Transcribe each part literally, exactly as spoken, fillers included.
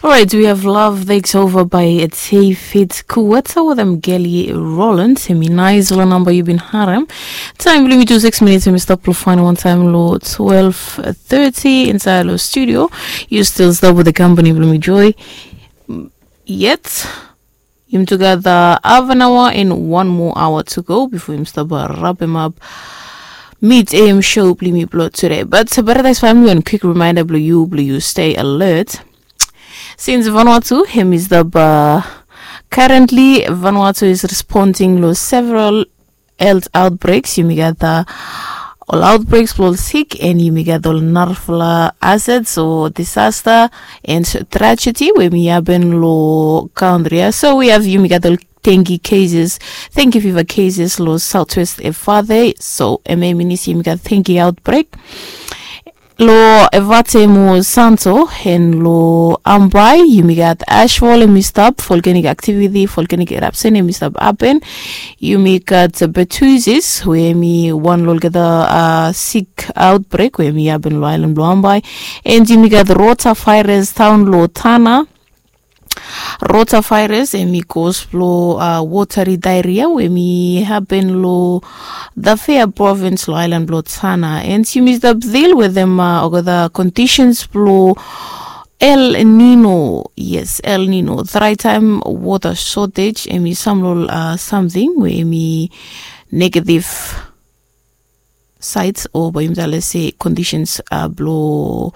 Alright, we have Love Takes Over by David Kuweta with Geli Roland. Hemi naisfala namba yu bin harem. Taem blong yumi tu six minits, hemi stap long faenem wantaem long twelve thirty insaed long studio. Yu stil stap wetem kampani blong mi, Joy. Yet yumi tugeta half an aoa and wan moa aoa to go bifo yumi stap rapemap mid A M show blong yumi blong tude. But Paradise famili, wan kwik rimaenda blong yu blong yu stay alert. Since Vanuatu hemi stap, uh, currently Vanuatu is responding long several health outbreaks. Yumi gat, uh, ol outbreaks blong ol sik, and yumi gat ol narafala hazards o disaster and tragedy we hemi hapen long kantri ia. So we have, yumi gat ol dengue cases, dengue fever cases long Southwest Efate. So hemia i minim se yumi gat dengue outbreak. Long Efate mo Santo and long Ambae yumi gat ashfall hemi stap, volcanic activity, volcanic eruption hemi stap hapen. Yumi gat Bertuzzi we hemi wan long olgeta, uh, sik outbreak we hemi hapen long aelan blong Ambae. And yumi gat rotavirus daon long Tanna. Rotavirus hemi cause blong, uh, watery diarrhoea we hemi hapen long Tafea province long aelan blong Tanna. And yumi stap deal wetem, uh, olgeta conditions blong El Nino. Yes, El Nino, dry time, water shortage, hemi sam long ol, uh, samting we hemi negative sides o bae yumi talem se conditions, uh, blong,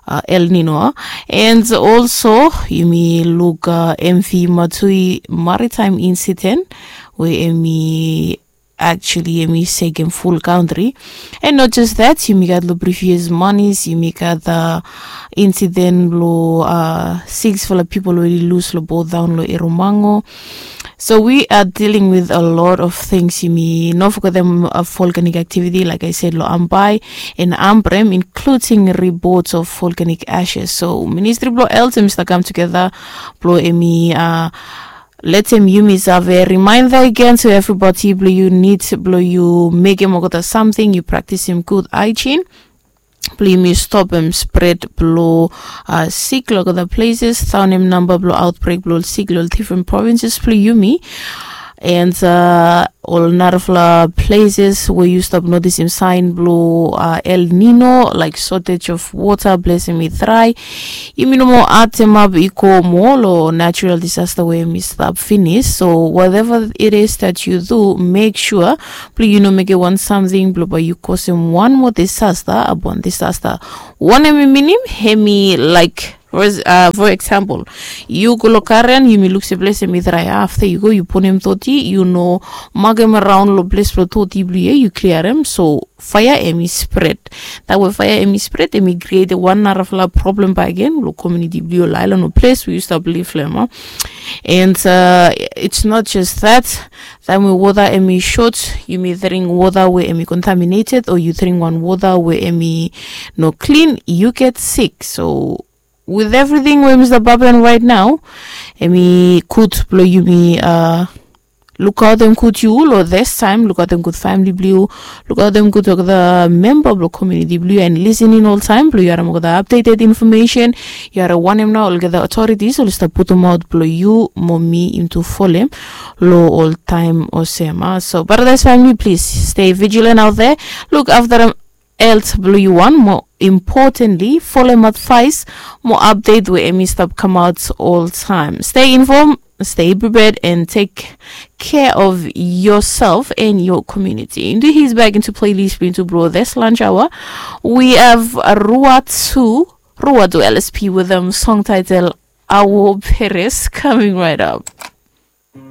uh, El Nino. And also yumi luk, uh, M V Matui maritime incident we hemi actually hemi sekem ful kantri. And not just that, yumi gat long previous manis yumi gat, uh, incident blong, uh, siksfala pipol we oli lus long bot daon long Eromango. So we are dealing with a lot of things. Yumi no fogetem, uh, volcanic activity, like I said, long Ambae and Ambrym, including reports of volcanic ashes. So Ministry blong Health hemi stap kam tugeta blong hemi, uh, letem yumi save, rimaenda agen to everybody blong yu nid blong yu mekem olgeta samting, yu praktisim gud hygiene blong yumi stopem spread blong, uh, sik long olgeta places, daonem namba blong outbreak blong ol sik long ol different provinces blong yumi. And, uh, ol narafala places we yu stap notisim saen blong, uh, El Nino, like shortage of water, ples hemi dry, yumi no moa ademap i go moa long natural disaster we hemi stap finis. So whatever it is that you do, make sure blong yu no mekem wan samting blong bae yu kosem wan moa disaster upon disaster. Wanem i minim? Hemi like, for, uh, for example, yu go long garen, yumi luk se ples hemi dry. Afta yu go yu punem doti, yu no makem raon long ples blong doti blong yu ia, yu kliarem. So faea hemi spread. Taem we faea hemi spread hemi krietem wan narafala problem bakegen long komuniti blong yu, ol aelan o ples we yu stap liv long hem. And, uh, it's not just that. Taem we wota hemi sot, yumi dring wota we hemi contaminated o yu dring wan wota we hemi no klin, yu get sik. So with everything we hemi stap hapen right now, hemi gud blong yumi, uh, lukaotem gud yu long this time, lukaotem gud famili blong yu, lukaotem gud olgeta memba blong komuniti blong yu, and lisin in oltaem blong yu harem olgeta updated information. Yu harem wanem nao olgeta authorities oli stap putumaot blong yu mo mi yumi tu folem long ol taem olsem ia. So Paradise famili, please stay vigilant out there. Luk aftarem health blong yu wan, mo importantly folem advice mo update we hemi stap kamaot oltaem. Stay informed, stay prepared, and take care of yourself and your community. Into his back into playlist blong yu tu blong this lunch hour, we have Ruatu, Ruatu L S P with a song title Awo Perez coming right up.